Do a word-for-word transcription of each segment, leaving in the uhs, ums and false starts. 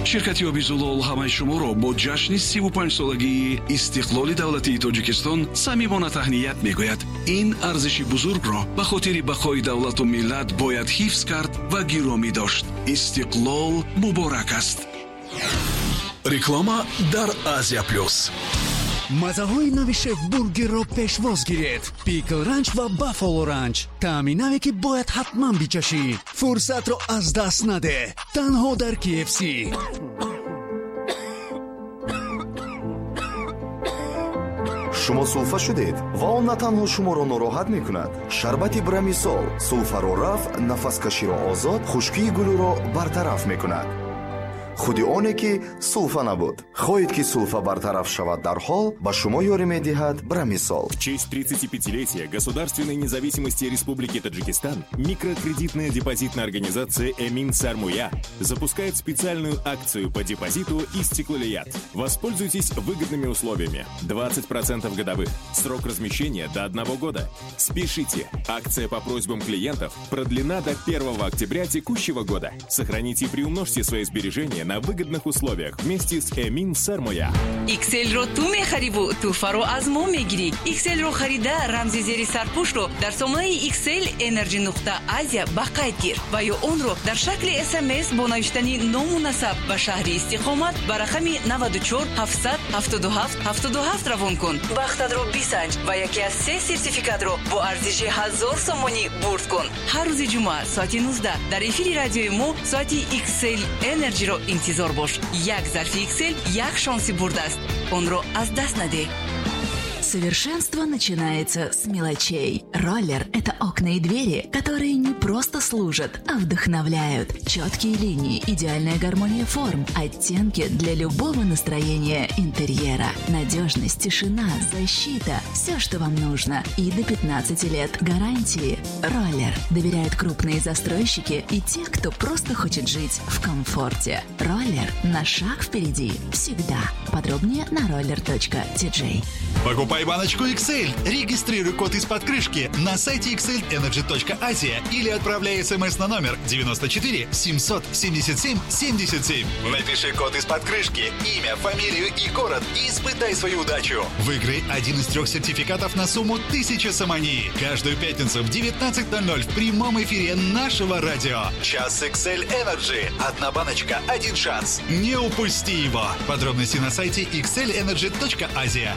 Ширкати оби Зулол ҳамаи шуморо бо ҷашни сиву панҷ солагии истиқлоли давлатии Тоҷикистон самимона таҳният мегӯяд. Ин арзиши бузургро ба хотири бақои давлату миллат бояд ҳифз кард ва гиромӣ дошт. Истиқлол муборак аст. Реклама дар Азия Плюс. Мазаҳои нави Шеф Бургерро пешвоз гиред. Пикл Ранч ва Баффало Ранч. Таъми наве, ки бояд ҳатман бичашӣ. Фурсатро аз даст наде. Танҳо дар K F C. Шумо сулфа шудед ва он на танҳо шуморо нороҳат мекунад. Шарбати Брамисол сулфаро рафъ, нафаскаширо озод, хушкии гулӯро бартараф мекунад. Худи оне ки сулфа набуд. Хоҳед, ки сулфа бартараф шавад дарҳол, ба шумо ёрӣ медиҳад Брамисол. В честь тридцатипятилетия государственной независимости Республики Таджикистан микрокредитная депозитная организация «Эмин Сармоя» запускает специальную акцию по депозиту «Истиклолият». Воспользуйтесь выгодными условиями. двадцать процентов годовых. Срок размещения до одного года. Спешите! Акция по просьбам клиентов продлена до первого октября текущего года. Сохраните и приумножьте свои сбережения на выгодных условиях вместе с «Эмин Сармоя». X L-ро ту мехариву тӯҳфаро аз мо мегирӣ. X L-ро харида, рамзи зери сарпӯшро дар сомонаи X L Energy нуқта Азия ба қайд гир ва ё онро дар шакли С М С бо навиштани ному насаб ва шаҳри истиқомат ба рақами наваду чор ҳафтсад ҳафтоду ҳафт ҳафтоду ҳафт равон кун. Бахтатро бисанҷ ва яке аз се сертификатро бо арзиши ҳазор сомонӣ бурд кун. Ҳар рӯзи ҷумъа соати нуздаҳ дар эфири радиои мо соати X L Energy-ро интизор бош. Як зарфи X L як шонси бурд аст, онро аз даст надеҳ. Совершенство начинается с мелочей. Роллер – это окна и двери, которые не просто служат, а вдохновляют. Четкие линии, идеальная гармония форм, оттенки для любого настроения интерьера. Надежность, тишина, защита – все, что вам нужно. И до пятнадцати лет гарантии. Роллер. Доверяют крупные застройщики и те, кто просто хочет жить в комфорте. Роллер на шаг впереди. Всегда. Подробнее на roller точка T J. Покупай баночку X L. Регистрируй код из-под крышки на сайте xlenergy точка asia или отправляй смс на номер девяносто четыре семьсот семьдесят семь семьдесят семь. Напиши код из-под крышки, имя, фамилию и город и испытай свою удачу. Выиграй один из трех сертификатов на сумму тысяча сомони. Каждую пятницу в девятнадцать ноль ноль в прямом эфире нашего радио. Час X L Energy. Одна баночка, один шанс. Не упусти его. Подробности на сайте xlenergy точка asia.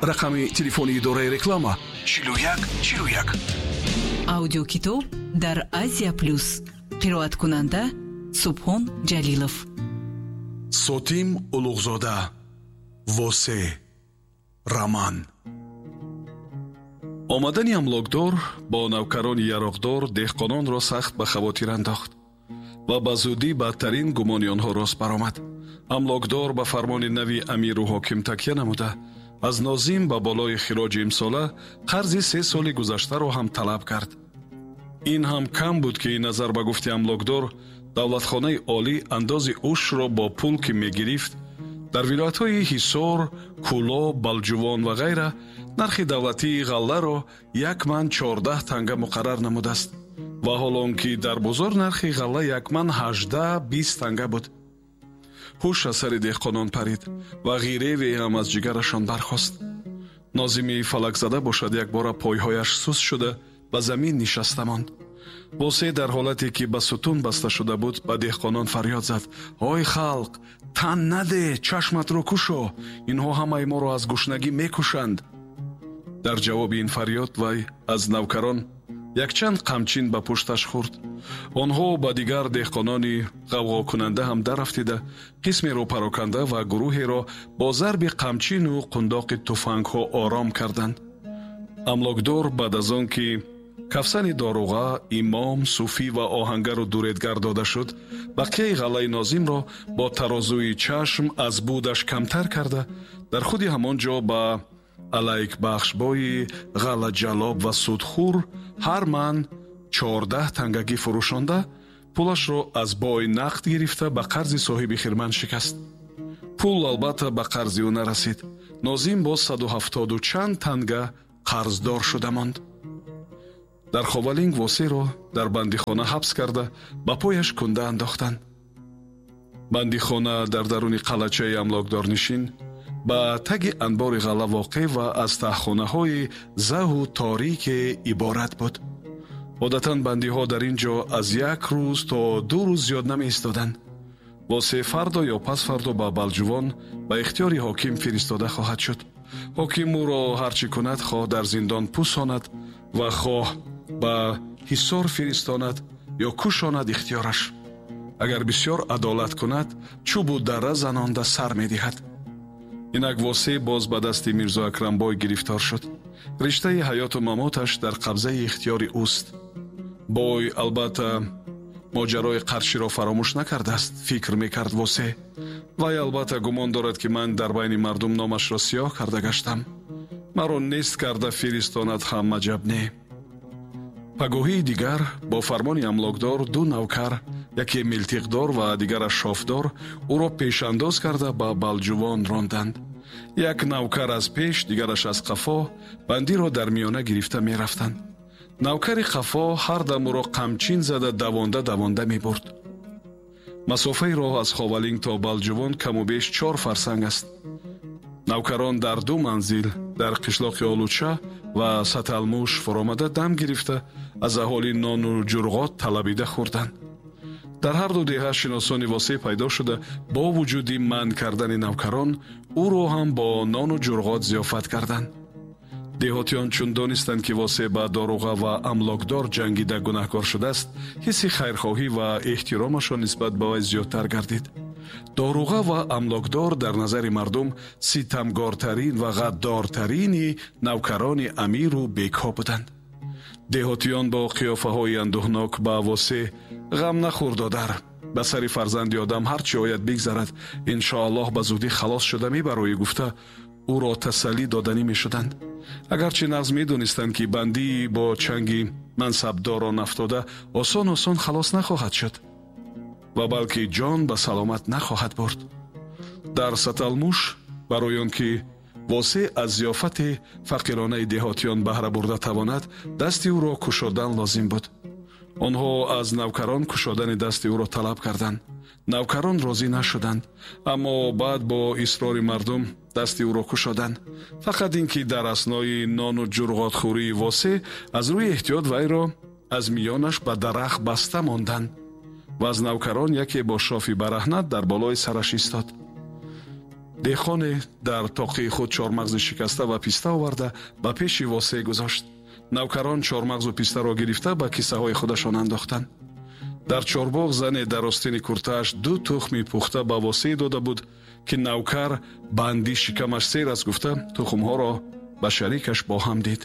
Рақами телефони идораи реклама чилу як чилу як. Аудиокитоб дар Азия Плюс. Қироаткунанда Субҳон Ҷалилов. Сотим Улуғзода, «Восе», роман. Омадани амлокдор бо навкарони яроқдор деҳқононро сахт ба хавотир андохт ва ба зудӣ бадтарин гумони онҳо рост баромад. Амлокдор ба фармони нави амиру ҳоким такя намуда, аз нозим ба болои хироҷи имсола қарзи се соли гузаштаро ҳам талаб кард. Ин ҳам кам буд, ки назар ба гуфти амлокдор, давлатхонаи олӣ андози ушрро бо пул ки мегирифт, дар вилоятҳои Ҳисор, Кӯлоб, Балҷувон ва ғайра нархи давлатии ғалларо як ман чордаҳ танга муқаррар намудааст ва ҳол он ки дар бозор нархи ғалла як ман ҳаждаҳ бист танга буд. Ҳуш аз сари деҳқонон парид ва ғиреве ҳам аз ҷигарашон бархост. Нозими фалакзада бошад, якбора пойҳояш суст шуда, ба замин нишаста монд. Восе дар ҳолате ки ба сутун баста шуда буд, ба деҳқонон фарёд зад: «Ой халқ, тан наде, чашматро кушо, инҳо ҳамаи моро аз гушнагӣ мекушанд!» Дар ҷавоби ин фарёд вай аз навкарон якчанд қамчин ба пушташ хӯрд. Онҳо ба дигар деҳқонони ғавғокунанда ҳам дарафтида, қисмеро пароканда ва гурӯҳеро бо зарби қамчину қундоқи туфангҳо ором карданд. Амлокдор баъд аз он ки кафсани доруға, имом, суфӣ ва оҳангару дуредгар дода шуд, бақияи ғаллаи нозимро бо тарозуи чашм аз будаш камтар карда, дар худи ҳамон ҷо ба алайкбахшбои ғаллаҷалоб ва судхӯр ҳар ман чордаҳ тангагӣ фурӯшонда, пулашро аз бой нақд гирифта, ба қарзи соҳиби хирман шикаст. Пул албатта ба қарзи ӯ нарасид. Нозим боз саду ҳафтоду чанд танга қарздор шуда монд. Дар Ховалинг Восеро дар бандихона ҳабс карда, ба пояш кунда андохтанд. Бандихона дар даруни қалъачаи амлокдорнишин ба таги анбори ғалла воқеъ ва аз таҳхонаҳои заҳу торике иборат буд. Одатан бандиҳо дар ин ҷо аз як рӯз то ду рӯз зиёд намеистоданд. Восеъ фардо ё пасфардо ба Балҷувон ба ихтиёри ҳоким фиристода хоҳад шуд. Ҳоким ӯро ҳар чӣ кунад, хоҳ дар зиндон пусонад ва хоҳ ба ҳисор фиристонад ё кушонад, ихтиёраш. Агар бисёр адолат кунад, чӯбу дара занонда сар медиҳад. Инак Восеъ боз ба дасти Мирзо Акрамбой гирифтор шуд. Риштаи ҳаёту мамоташ дар қабзаи ихтиёри ӯст. Бой албатта моҷарои қарширо фаромӯш накардааст, фикр мекард Восеъ. Вай албатта гумон дорад, ки ман дар байни мардум номашро сиёҳ карда гаштам. Маро нест карда фиристонад ҳам аҷаб не. Пагоҳии дигар бо фармони амлокдор ду навкар, яке милтиқдор ва дигараш шофдор, ӯро пешандоз карда ба Балҷувон ронданд. Як навкар аз пеш, дигараш аз қафо бандиро дар миёна гирифта мерафтанд. Навкари қафо ҳар дам ӯро қамчин зада давонда давонда мебурд. Масофаи роҳ аз Ховалинг то Балҷувон каму беш чор фарсанг аст. Навкарон дар ду манзил дар қишлоқи Олуча ва Саталмуш фуромада дам гирифта аз аҳолӣ нону ҷурғот талабида хӯрданд. Дар ҳар ду деҳа шиносони Восеъ пайдо шуда, бо вуҷуди манъ кардани навкарон ӯро ҳам бо нону ҷурғот зиёфат карданд. Деҳотиён чун донистанд, ки Восеъ ба доруға ва амлокдор ҷангида гунаҳкор шудааст, ҳисси хайрхоҳӣ ва эҳтиромашон нисбат ба вай зиёдтар гардид. Доруға ва амлокдор дар назари мардум ситамгортарин ва ғаддортарини навкарони амиру бекҳо буданд. Деҳотиён бо қиёфаҳои андӯҳнок ба Восеъ: «Ғам нахӯр, додар, ба сари фарзанди одам ҳар чӣ ояд бигзарад, иншоаллоҳ ба зудӣ халос шуда мебароӣ», гуфта ӯро тасаллӣ доданӣ мешуданд. Агарчи нағз медонистанд, ки бандии бо чанги мансабдорон афтода осон осон халос нахоҳад шуд ва балки ҷон ба саломат нахоҳад бурд. Дар Саталмуш барои он ки Восеъ аз зиёфати фақиронаи деҳотиён баҳра бурда тавонад, дасти ӯро кушодан лозим буд. Онҳо аз навкарон кушодани дасти ӯро талаб карданд. Навкарон розӣ нашуданд, аммо баъд бо исрори мардум дасти ӯро кушоданд. Фақат ин ки дар аснои нону ҷурғотхӯрии Восеъ аз рӯи эҳтиёт вайро аз миёнаш ба дарахт баста монданд ва аз навкарон яке бо шофи бараҳнат дар болои сараш истод. Деҳқоне дар тоқии худ чормағзи шикаста ва писта оварда ба пеши Восеъ гузошт. Навкарон чормағзу пистаро гирифта ба кисаҳои худашон андохтанд. Дар чорбоғ зане дар остини куртааш ду тухми пухта ба Восеъ дода буд, ки навкар банди шикамаш сер аст гуфта тухмҳоро ба шарикаш бо ҳам дид.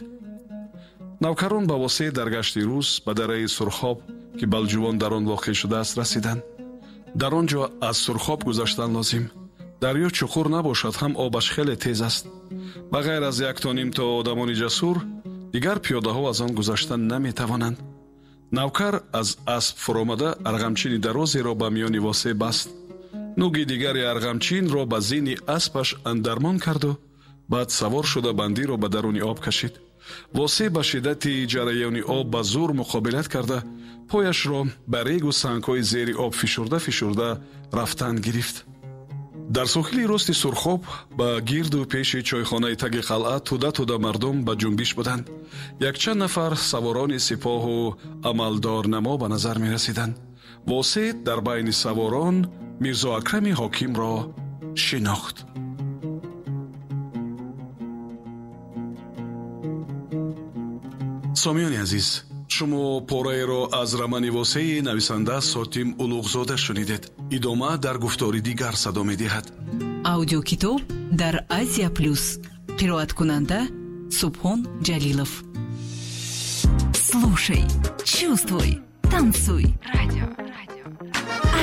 Навкарон ба Восеъ дар гашти рӯз ба дараи Сурхоб, ки Балҷувон дар он воқеъ шудааст, расиданд. Дар он ҷо аз Сурхоб гузаштан лозим. Дарё чуқур набошад ҳам обаш хеле тез аст. Ба ғайр аз як то ним то одамони ҷасур, дигар пиёдаҳо аз он гузаштан наметавонанд. Навкар аз асп фуромада арғамчини дарозеро ба миёни Восеъ баст. Нуги дигари арғамчинро ба зини аспаш андармон карду баъд савор шуда бандиро ба даруни об кашид. Восеъ ба шиддати ҷараёни об ба зур муқобилат карда, пояшро ба регу сангҳои зери об фишурда фишурда рафтан гирифт. Дар соҳили рости Сурхоб ба гирду пеши чойхонаи таги қалъа тӯда-тӯда мардум ба ҷунбиш буданд. Якчанд нафар саворони сипоҳу амалдорнамо ба назар мерасиданд. Восеъ дар байни саворон Мирзо Акрами ҳокимро шинохт. Сомиёни азиз, шумо пораеро аз романи Восеи нависанда Сотим Улуғзода шунидед. Идома дар гуфтори дигар садо медиҳад. Аудиокитоб дар Азия Плюс. Қироаткунанда Субҳон Ҷалилов. Слушай, чувствуй, танцуй. Радио, радио.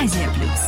Азия Плюс.